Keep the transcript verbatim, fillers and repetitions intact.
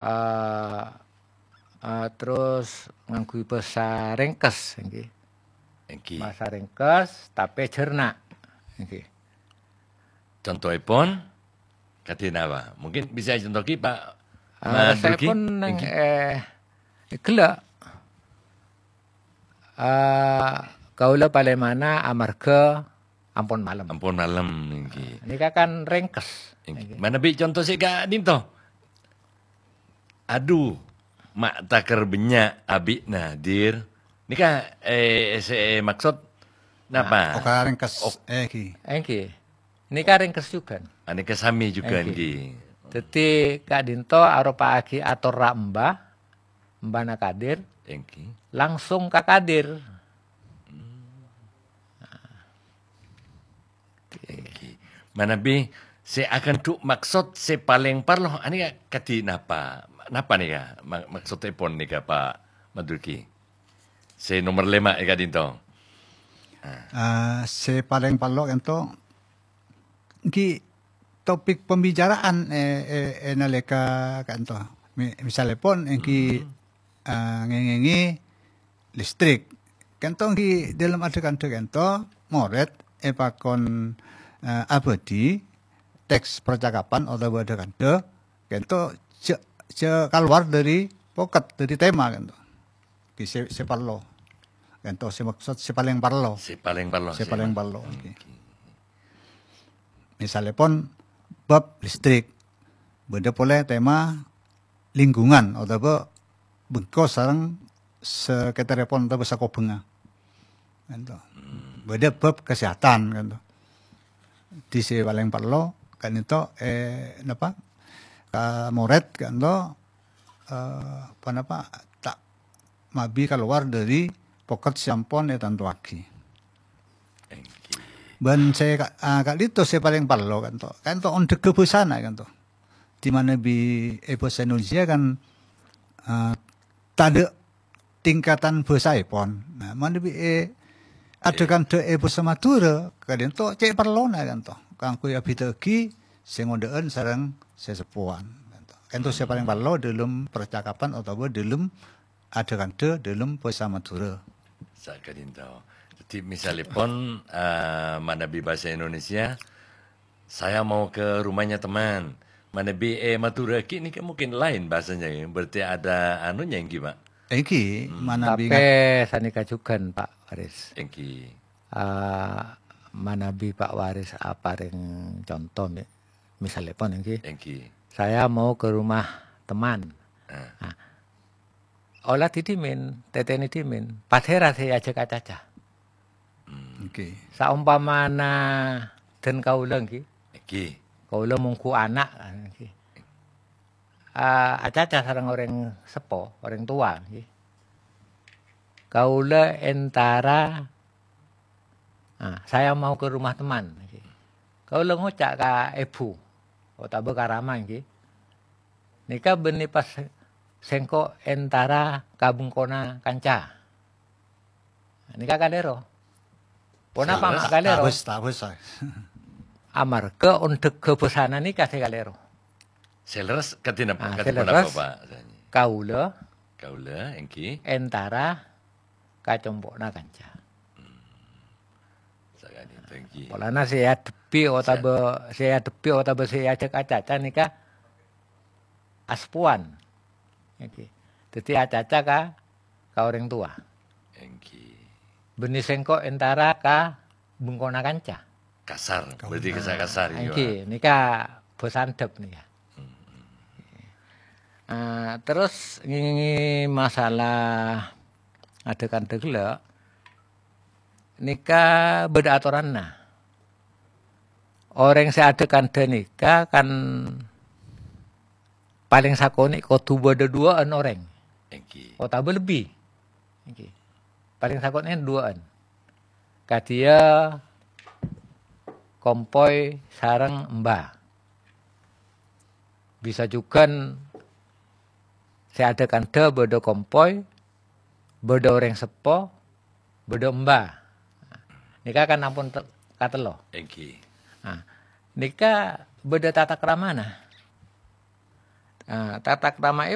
Eh, eh, terros ngangghuy bhâsa rèngkes, èngghi. Èngghi. Bhâsa rèngkes, tapè jhârna, èngghi. Contoèpon, kadhi napa? Mungkin bisa ècontoè, Pak. Ah, Mandruki? Saèpon neng, Èngghi. Eh, ghellâ'. Ah, kaulâ palèmana amarghâ ampon malem. Ampon malem, èngghi. Nèka kan rèngkes. Èngghi. Èngghi. Manabi conto sè ka'dinto. Adhu, ma' takèr bânnya' abi'na, Dir. Nèka, eh, sè maksod napa? Nah, okara rèngkes, Ok. Eh, èngghi. Èngghi. Nèka rèngkes jhughân. Ah, nèka samè jhughân, Èngghi. Èngghi. Dhâddhi, ka'dinto aropa'aghi atorra emba, embana Kadir, Èngghi. Langsung ka Kadir. Hmm. Èngghi. Manabi sè aghândhu' maksod sè palèng parlo, anèka kadhi napa? Napa nèka ma-, maksodèpon nèka, Pak Madruki? Sè nomer lèma' è ka'dinto. Ah. Ah, sè palèng parlo ka'dinto, èngghi topik pembicaraan, eh, eh, eh, nalèka ka'dinto. Mi-, misalèpon èngghi, Hmm. ah, ngèngèngè listrik. Ka'dinto èngghi dâlem adhâ-kandhâ ka'dinto, morèd èpakon, eh, abâdhi teks percakapan otabâ adhâ-kandhâ, ka'dinto jhâ', jhâ' kalowar dâri poket, dâri tema ka'dinto. Èngghi sè, sè parlo. Ka'dinto sè maksod sè palèng parlo. Sè palèng parlo, Sè sè palèng ma-, parlo, èngghi. Èngghi. Misalèpon bab listrik, bâdâ polè tema lingkungan otabâ bengko sareng sakètarèpon otabâ sakobhângnga. Ka'dinto. Hmm. Bâdâ bab kesehatan, ka'dinto. Dhi sè palèng parlo, ka'dinto, eh, napa? Ka morèd, ka'dinto, eh, ponapa? Ta' mabi kalowar dâri poket sè ampon ètantowaghi. Èngghi. Bân sè ka-, ah, ka'dinto sè palèng parlo ka'dinto. Ka'dinto ondhâghâ bhâsana ka'dinto. Di mana bi-, è bhâsa Indonesia kan, ah, tadâ' tingkatan bhâsaèpon. Nah, manabi è adhâ-kandhâ è bhâsa Madhurâ, ka'dinto cè' parlona ka'dinto. Kaangghuy abhidhâ'aghi sè ngodâ'ân sareng sè seppowan ka'dinto. Ka'dinto sè palèng parlo dâlem percakapan otabâ dâlem adhâ-kandhâ dâlem bhâsa Madhurâ. Saka'dinto. Dhâddhi, misalèpon, eh, manabi bhâsa Indonesia, "Saya mau ke rumahnya teman." Manabi è Madhurâ ghi' nèka mungkin laèn bhâsanya, ya. Berarti ada anunya, èngghi, Pak? Èngghi, Hmm. manabi Tapè ngat- sanèka jhughân, Pak Waris. Èngghi. Ah, manabi Pak Waris aparèng conto, mi-, misalèpon, èngghi. Èngghi. "Saya mau ke rumah teman." Ah. Ah, Ola dhimèn, tètènè dhimèn, padâ rèya sè èajhâk acaca. Hmm. Oke. Saompamana dân kaulâ, ngghi. Ngghi. Kaulâ mongghu ana', ngghi. Ah, acaca sareng orèng seppo, orèng towa, ngghi. Kaulâ entara, ah, "Saya mau ke rumah teman," ngghi. Kaulâ ngoca' ka èbhu, otabâ ka rama, ngghi. Nèka bânnè pas sèngko' entara ka bengkona kanca. Nèka kalèro. Ponapa Sè lerres, kalèro? Tabus, tabus, ah. Amarghâ ondhâghâ bhâsana nèka sè kalèro. Sè lerres kadhi napa? Ah, Kadhi sè ponapa, lerres, Pak? Kaulâ Kaulâ, èngghi. Entara ka compo'na kanca. Hmm. Saka'dinto, èngghi. Polana sè èadhebbhi otabâ, sè èadhebbhi otabâ sè èajhâk acaca nèka aspowan. Èngghi. Dhâddhi acaca ka, ka orèng towa. Èngghi. Bânnè sèngko' entara ka bengkona kanca. Kasar, Kaum. Berarti kasa-, kasar, ya. Èngghi, nèka bhâsa andhâp nèka. Hmm. Ah, terros ngèngèngè masalah adhâ-kandhâ ghellâ', nèka bâdâ atoranna. Orèng sè adhâ-kandhâ nèka kan palèng sakonè' kodhu bâdâ duwâ'ân orèng. Èngghi. Otabâ lebbi. Èngghi. Palèng sakonè' duwâ'ân. Kadhiyâ kompoy sareng emba. Bisa jhughân sè adhâ-kandhâ bâdâ kompoy, bâdâ orèng seppo, bâdâ emba. Nèka kan ampon te-, katello. Èngghi. Nah, nèka bâdâ tata kramana. Nah, tata kerama'è